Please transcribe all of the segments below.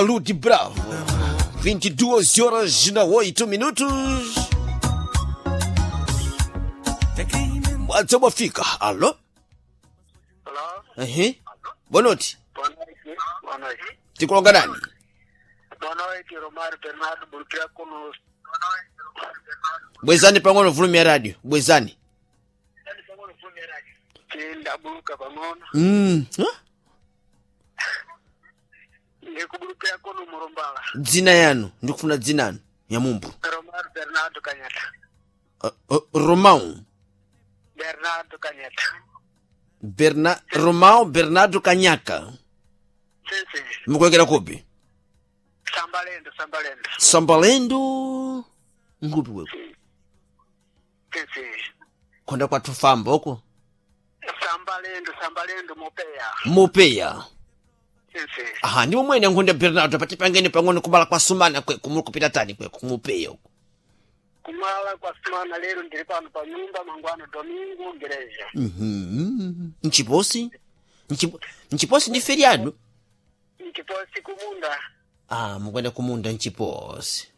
Ludi Bravo, 22 horas na 8 minutos. Mwadza mwafika. Alo? Hello? Ehe. Boa noite. Boa noite. Boa noite. Tikulonga nani? Boa noite, Romário Bernardo Burquia conosco. Bwezani pang'ono volume ya radio. Bwezani. Tindabuka pang'ono. Huh? Ndikubulukira kuno Murumbala. Dzina yanu, ndikufuna dzina anu ya mumbu. Romário Bernardo Kanyata. Romão. Bernardo Kanyata. Romão Bernardo Kanyaka. Sim, sim. Mukuwekera kupi? Sambalendo, Sambalendo. Sambalendo. Ngupi weko. Sim, sim. Konda kwathu famba uko. Sambalendo, Sambalendo Mopeya. Mupeya. Sim, sim. Aha, ndi momwene nkhunda Bernardo patipangeni pang'ono kubala kwa sumana kweko muli kupita tani kweko kumupeya uko. Kumala kwa sumana lero ndiri pano pa nyumba mangwano domingo ngereja. Nchiposi? Nchiposi ndi feriado? Nchiposi kumunda. Ah, mukwenda kumunda nchiposi.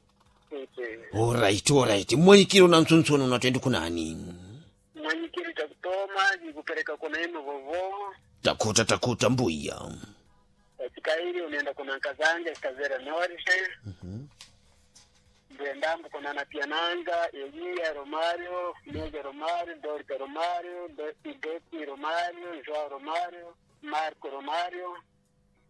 Sim, sim. Alright, alright. Mwenyikiro na mtsuntsuno unatwendi kunani? Mwenyikiri chakutoma ndikupereka kuna ino vovo. Takuta takuta mbuya. Katika hili unaenda kuna Nkazanja Kazera Norte. Ndendambo kuna Napiananga, Elia Romario, Mega Romario, Dorca Romario, Ideti Romario, Joao Romario, Marco Romario.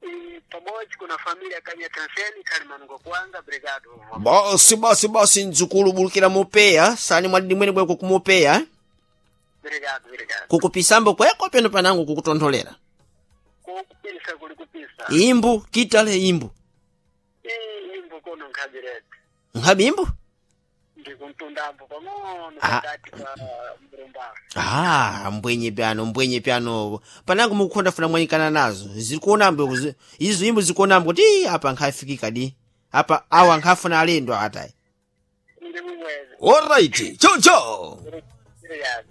E pamoja kuna familia Kanya Tanseni Kalimango Kwanga Brigado. Basi basi basi nzukulu bulukira mupeya sani mwadidi mwene bweko kumupeya eh? Brigado, brigado. Kukupisambo kweko peno panangu kukutontholera. Kukupisa kuli kupisa. Imbu kitale imbu. Ii imbu kono nkhabirete. Nkhabi imbu? Ndikuntundambo pang'ono Ah. pakati pa Mrumbala. Ah, mbwenye pyano mbwenye pyano panangu mukukhonda funa mwanyikana nazo zikuonambo izo imbu zikuonambo kuti "Ii, apa nkhafikika di apa awa nkhafuna alendo atayi. Ndi mumwezi. Alright, chau chau. Brigado.